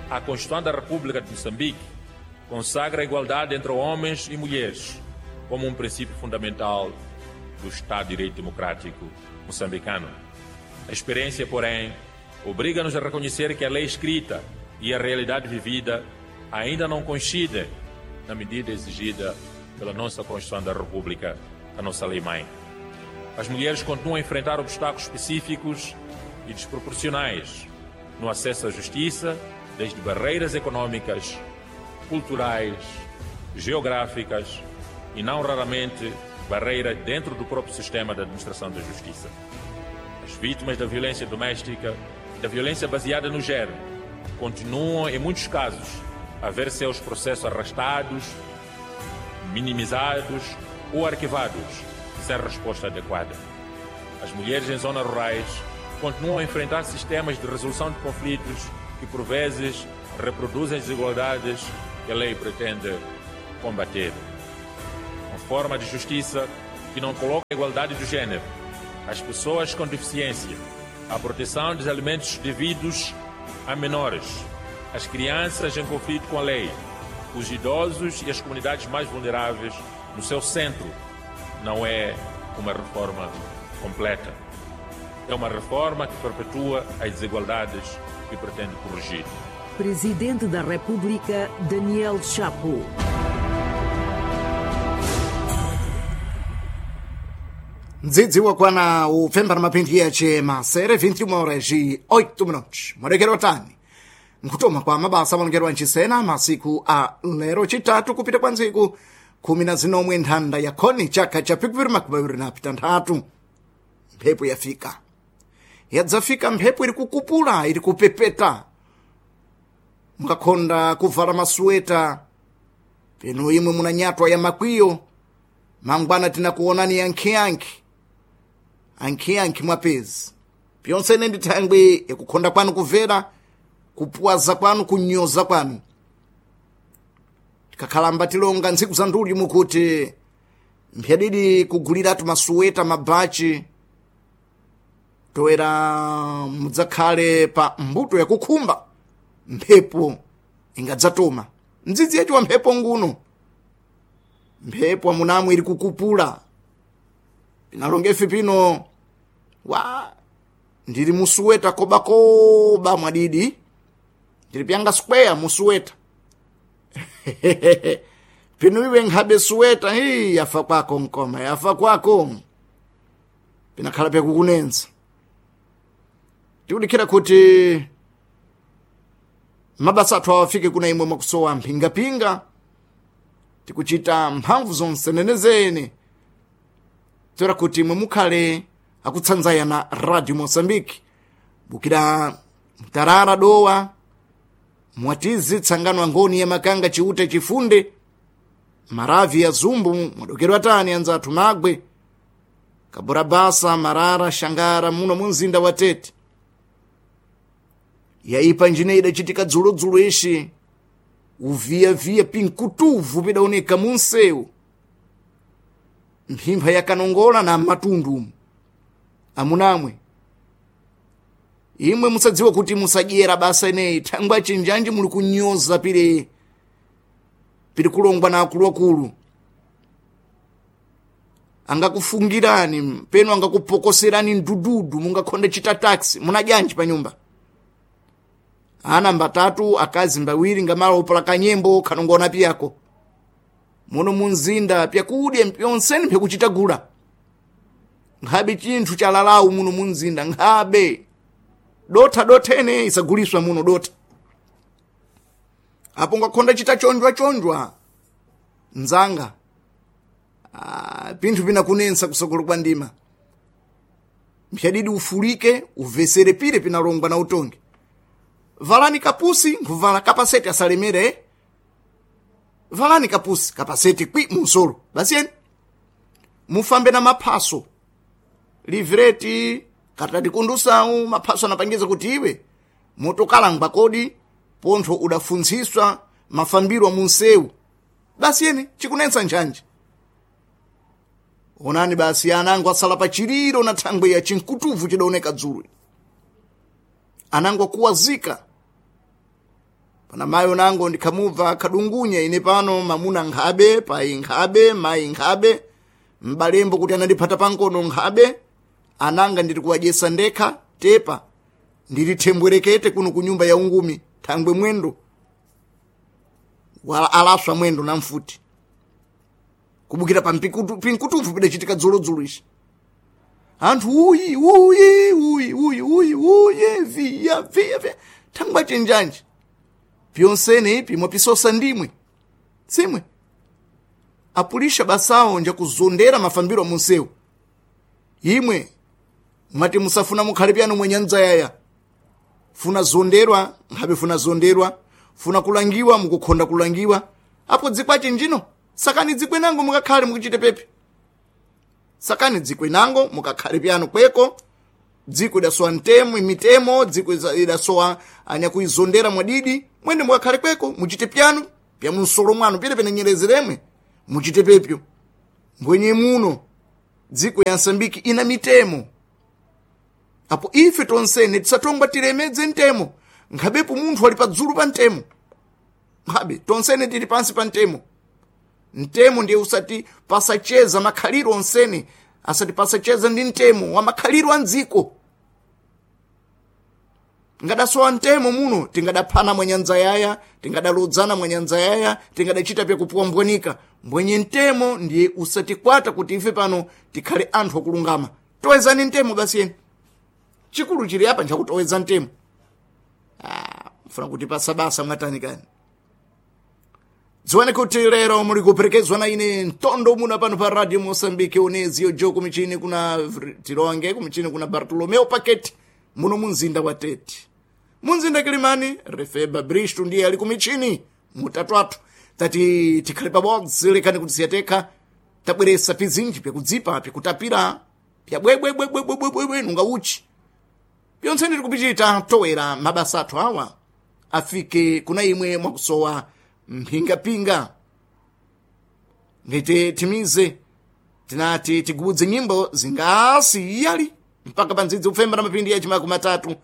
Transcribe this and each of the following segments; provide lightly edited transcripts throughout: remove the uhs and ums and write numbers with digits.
A Constituição da República de Moçambique consagra a igualdade entre homens e mulheres como um princípio fundamental do Estado de Direito Democrático moçambicano. A experiência, porém, obriga-nos a reconhecer que a lei escrita e a realidade vivida ainda não coincidem na medida exigida pela nossa Constituição da República, a nossa lei-mãe. As mulheres continuam a enfrentar obstáculos específicos e desproporcionais no acesso à justiça, desde barreiras econômicas, culturais, geográficas e, não raramente, barreiras dentro do próprio sistema da administração da justiça. As vítimas da violência doméstica e da violência baseada no género continuam, em muitos casos, a ver seus processos arrastados, minimizados ou arquivados, sem resposta adequada. As mulheres em zonas rurais continuam a enfrentar sistemas de resolução de conflitos que, por vezes, reproduzem desigualdades que a lei pretende combater. Uma forma de justiça que não coloca a igualdade do gênero, as pessoas com deficiência, a proteção dos alimentos devidos a menores, as crianças em conflito com a lei, os idosos e as comunidades mais vulneráveis no seu centro, não é uma reforma completa. É uma reforma que perpetua as desigualdades que pretende corrigir. Presidente da República, Daniel Chapo. Mdzidzi wakwana upfembana mapindi yache masere 21 horas e 8 minutos. Mwalekero tani. Nkutoma kwa mabasa malongerwa nchisena masiku a lero chitatu kupita kwa ntsiku 17 nthanda ya khoni chaka cha 2026. Mphepo yafika. Yadzafika mphepo iri kukupula, iri kupepeta. Mukakhonda kuvala masuweta. Peno imwe munanyatwa ya makwiyo. Mangwana tinakuonani yankhiyankhi. Ankhiyankhi mwapezi. Pyonse ine ndi thangwi yakukhonda kwanu kuvera, kupuwaza kwanu, kunyoza kwanu. Tikakhalamba tilonga ntsiku za nduli mukuti mphyadidi kuguliratu masuweta mabachi toera mudzakhale pa mbuto yakukhumba mphepo ingadzatoma. Mdzidzi yacho wa mphepo nguno. Mphepo amunamwe iri kukupula. Pinalongefe pino wa ndiri musuweta kobakoba mwadidi. Ndiri pyanga square musuweta. Pino iwe nkhabe suweta hii yafa kwako nkoma yafa kwako. Pinakhala pyakukunenza. Tikudikhira kuti mabasa athu awafike kuna imwe mwakusowa mphingapinga. Tikuchita mphamvu zonse nenezene toera kuti imwe mukhale akutsanzaya na Radio Mozambique bukira mtarara dowa mwatizi tsangano angoni ya makanga chiute chifunde maravi ya zumbu mwadokero atani anzathu magwe kaburabasa marara shangara muno munzinda wa Tete. Yaipa njine idachitika dzulodzulo ishi uviyaviya pinkutuvu pidaoneka munsewu mphimpha yakanongola na matundu amunamwe imwe musadziwa kuti musadyera basa ineyi thangwa chinjanji muli kunyoza pili pili kulongwa na akuluakulu angakufungirani peno angakupokoserani ndududu mungakhonde chita taxi munadyanji pa nyumba ana mbatatu akazi mbawiri ngamala opola kanyembo khanongona piyako muno munzinda pyakudya pyonseni pyakuchitagula nkhabe chinthu chalalawu muno munzinda nkhabe dotha dothene isaguliswa muno dotha apo ngakhonda chita chonjwa chonjwa nzanga pinthu pinakunensa kusogolo kwa ndima mphyadidi ufulike uvesere pire pinalongwa na utongi valani kapusi nkhuvala kapaseti asalemere valani kapusi kapaseti kwi munsolo basiyeni mufambe na maphaso livreti katati kundusawu maphaso anapangiza kuti iwe motokalangwa kodi pontho udafuntsiswa mafambiro a munsewu basiyeni chikunensa njanje onani basi anango asala pa chiliro na thangwe ya chinkutuvu chidaoneka dzulo anango akuwazika. Pana mayi nango ndikhamubva khadungunya ine pano mamuna nkhabe, payi nkhabe, mayi nkhabe, m'balembo kuti anandiphata pankono nkhabe, ananga ndiri kuwadyesa ndekha tepa ndili thembwerekete kuno ku nyumba ya ungumi thangwe mwendo wala alaswa mwendo na mfuti kubukira pa pinkutufu pidachitika dzulodzulo ici anthu uyi uyi uyi uyi uyi uyi viya viya viya thangwe achenjanji pyonsene ipi mwapisosa ndimwe simwe apulisha basawo njakuzondera mafambiro munsewu imwe mwati musafuna mukhale pyano mwenyanzayaya funa zonderwa nkhabe funa zonderwa funa kulangiwa mukukhonda kulangiwa apo dzikwache njino sakani dzikwe nango mukakhale mukuchite pepe sakani dzikwe nango mukakhale pyano kweko dziko idasowa ntemo mitemo dziko idasowa anyakuizondera mwadidi mwende mukakhale kweko muchite pyano pya munsolo mwanu pile penenyerezeremwe muchite pepyo mbwenye muno dziko ya Msambiki ina mitemo apo ife tonsene tisatongwa tilemedze ntemo nkhabepo munthu ali padzulu pa ntemo nkhabe tonsene tili pansi pa ntemo ntemo ndiye usati pasacheza makhaliro onsene asati pasacheza ndi ntemo wa makhaliro a mdziko ngadasowa ntemo muno tingadaphana mwanyanza yaya tingadalodzana mwanyanza yaya tingadachita pyakupuwambwanika mbwenye ntemo ndiye usatikwata kuti ife pano tikhale anthu akulungama towezani ntemo basi yeni chikulu chili apa nchakutoweza ntemo ah, mfuna kuti pasabasa mwatani kani dziwani kuti lero muli kuperekezwa na ine mtondo muna pano pa radio Mosambike onezio jo kumichini kuna Tironge kumichini kuna Bartolomeo Paketi muno munzinda wa Tete munzinda Kilimani Refeba Bristo ndiye ali kumichini mutatu athu tati tikhale pabodzi lekani kuti siyatekha tabweresa pizinji pyakudzipa pyakutapira pyabwebwebwebwebwebwe nunga uchi pyonse ndiri kupichita towera mabasa athu awa afike kuna imwe mwakusowa mphingapinga ngete timize tinati tigubudze nyimbo zingasiyali mpaka pandzidzi kupfemba na mapindi ya chimako matatu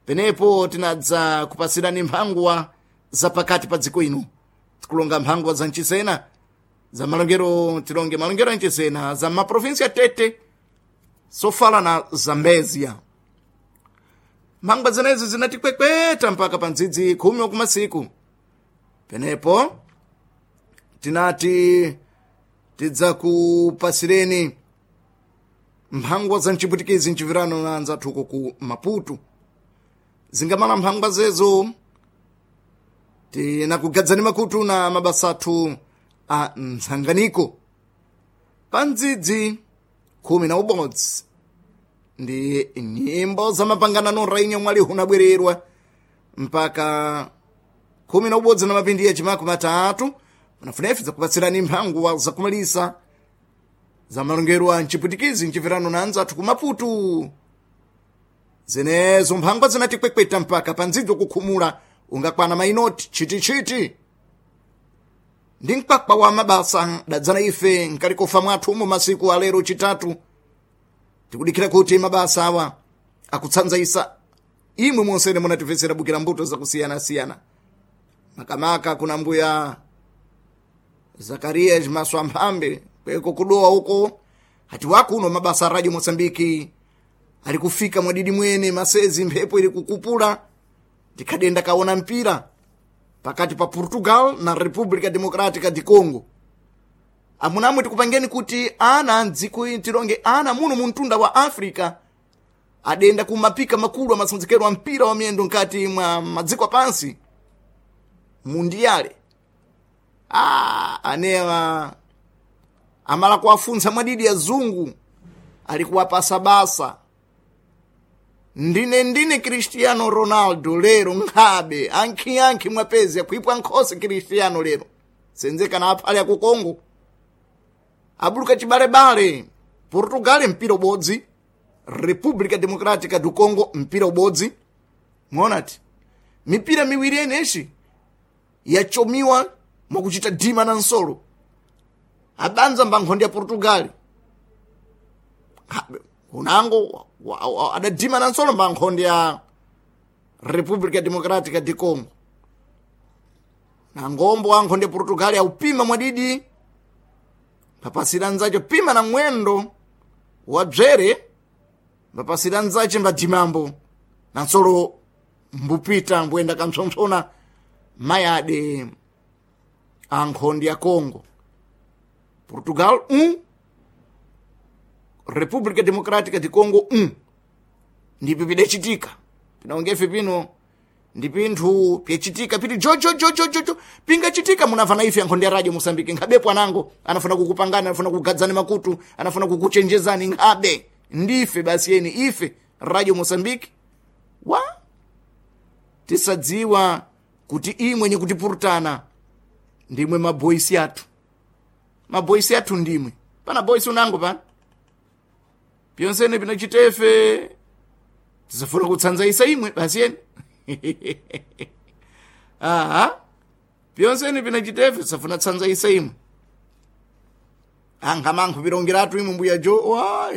penepo tinadza kupasirani mphangwa za pakati pa dziko ino tikulonga mphangwa za mchisena za malongero tilonge malongero a mchisena za maprovinsi ya Tete sofala na Zambezia mphangwa zenezi zinatikwekweta mpaka pa ndzidzi 10 wakumasiku penepo tinati tidzakupasireni mphangwa za mchiputikizi mchivirano na anzathuko ku Maputo zingamala mphangwa zezo tinakugadzani makutu na mabasa athu a mtsanganiko pa ndzidzi 11 ndi nyimbo za mapanganano rainha mwali hunabwererwa mpaka 11 na mapindi ya chimako matatu panafunefe zakupatsirani mphangwa zakumalisa za malongero a mchiputikizi mchivirano na anzathu ku Maputo zenezo mphangwa zinatikwekweta mpaka pandzidzo kukhumula ungakwana mainoti chitichiti ndi mkwakwa wa mabasa dadzana ife nkalikofa mwathu umo masiku alero chitatu tikudikira kuti mabasa awa akutsanzaisa imwe monsene munatifesera bukira mbuto zakusiyanasiyana makamaka kuna mbuya Zakariya Jimaso Amphambe kweko kudowa uko hati wakuno mabasa a Radio Mosambiki ali kufika mwadidi mwene masezi mphepo ili kukupula tikhadenda kaona mpira pakati pa Portugal na República Democrática de Congo amunamwe tikupangeni kuti ana mdziko tilonge ana muno muntunda wa Africa adenda kumapika makulu amasonzekero a mpira wa miyendo nkati mwa madziko apansi mundiyale anewa amala kuwafuntsa mwadidi azungu ali kuwapasa basa ndine Cristiano Ronaldo lero nkhabe ankhiankhi mwapezi akhwipwa nkhosi Cristiano lero senzekana aphale aku Congo abuluka chibalebale Portugal mpira ubodzi República Democrática do Congo mpira ubodzi mwonati mipira miwiri yeneshi yachomiwa mwakuchita dima na nsolo abanza mbankhondo ya Portugal unango adadima na nsolo mbankhondo ya República Democrática de Congo Na ngombo ankhonde Portugal aupima mwadidi papasira nzacho pima na mwendo wa bzere mbapasira nzache mbadimambo na nsolo mbupita mbuyenda kampsompsona mayade ankhondi ya Congo. Portugal 1 República Democrática de Congo 1. Ndipo pidachitika pinaongefe pino ndi pinthu pyachitika piti jojojojojojo pingachitika munafana ife ankhondi ya radio Mosambike nkhabepo anango anafuna kukupangani, anafuna kukugadzani makutu, anafuna kukuchenjezani nkhabe ndife basi yeni ife radio Mosambike wa tisadziwa kuti imwe nyikutipurutana ndimwe maboisi athu, maboisi athu ndimwe pana boisi unango pana pyonsene pinachitefe tisafuna kutsanzaisa imwe basi yeni aha pyonsene pinachitefe tisafuna tsanzaisa imwe ankha mankho pirongeratu imwe mbuya jo wa.